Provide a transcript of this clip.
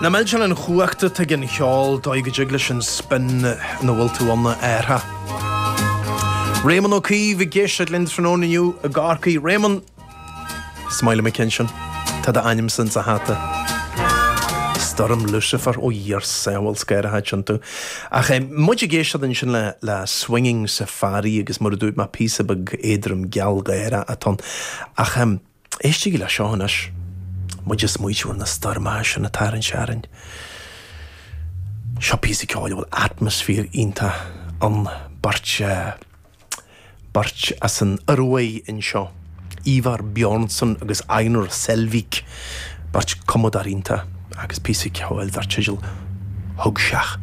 Nach millteanach an chumhacht atá ag an cheol, dóigh go dtig leis an spin ina bhfuil tú ann a athrú. Réamonn Ó Caoimh ag éisteacht linn tráthnóna inniu i gCorcaigh. Réamonn! Is maith liom an ceann sin. Tá d'ainmse insa hata. Stoirm Lucifer, ó Dhia ár sábháil, is gáire atá iontu. Ach muid ag éisteacht ansin le le Swinging Safari agus mar a dúirt mé píosa beag éadrom gealgháireach atá ann. Ach éistigí le seo anois. Muid ag smaoitiú ar na stoirmeacha sin atá ar an searainn. Seo píosa ceoil a bhfuil atmaisféar iontach ann. Beirt Beirt as an Ioruaidh anseo, Ívar Bjornsson agus Einar Selvik, beirt cumadóir iontach agus píosa ceoil dar teideal Hugseach.